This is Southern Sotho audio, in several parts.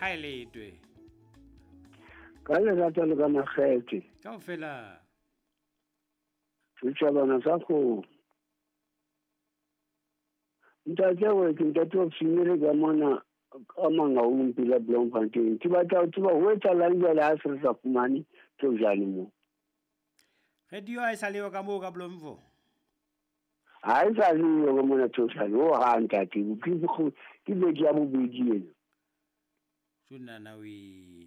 A e letwe. Ka lerato le ka makgethe. Kaofela. Setjhabana sa kgomo. Ntate we ke ntate wa Fimere ka mona ka Mangaung pela Bloemfontein. Ke batla ho tseba ho etsahalang jwale ha se re sa fumane thojane mo. Radio ha e sa leyo ka moo ka Bloemfo? Ha e sa leyo ka mona thojane. Ho hang ntate. Ke beke ya bobedi ena. Tjona we.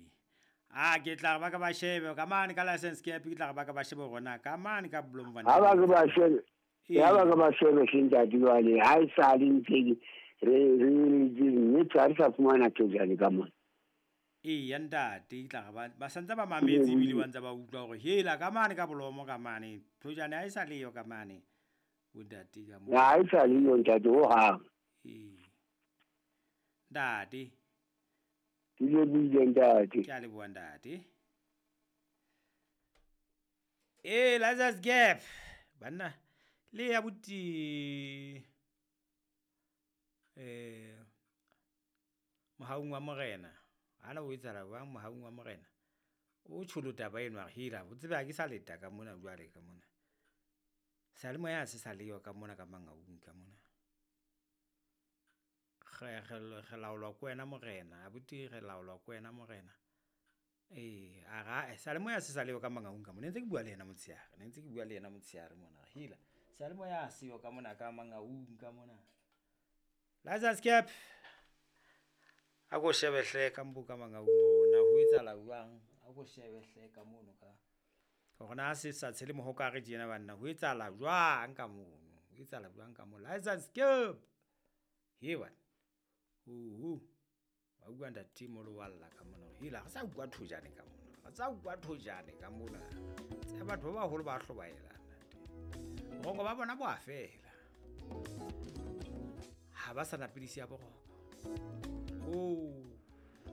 A ke tla ba ka ba shebe ka mane ka license cap, ke tla ba ka ba shebe rona ka mane ka Bloemfontein. Ha ba ke ba shebe. Ya ba ka ba shebe hle ntate jwale ha e sa le ntse re mme ha re sa fumana thojane ka mona. Eya ntate, ke tla ba ba santse ba mametse ebile ba ntse ba utlwa hore hela ka mane ka Bolomo ka mane thojane ha e sa leyo ka mane bontate ka mo. Ha e sa leyo ntate ho hang. Ee. Ntate. Ke lebohile ntate. Ke a leboha ntate. Ee, Lazarus Gap. Banna le ya buti mohaung wa morena. Ana o etsahala jwang mohaung wa morena? O tjholo taba eno a re hela, o tsebe ha ke sa leta ka mona jwale ka mona. Seyalemoya ha se sa leyo ka mona ka Mangaung ka mona. Re laolwa ke wena morena, abuti re laolwa ke wena morena. Ee, a ra seyalemoya se sa leyo ka Mangaung ka mona. Ne ntse ke bua le yena motshehare, ne ntse ke bua le yena motshehare mona. Hela, seyalemoya ha seyo ka mona ka Mangaung ka mona. Lazarus Cap. A ko shebe hle ka mbo ka Mangaung hore na ho etsahala jwang. A ko shebe hle ka mono ka hore na se sa tshele mohokare tjena banna ho etsahala jwang ka mono. Ho etsahala jwang ka mono. Lazarus Cap. He bana. Uhu. Ba bua ntate molo wa lla ka mona. Hela re sa utlwa thojane ka mona. Re sa utlwa thojane ka mona. Tse batho ba baholo ba hlobaela ntate. Boroko ba bona bo a fela. Ha ba sa na pidisi ya boroko. Oh.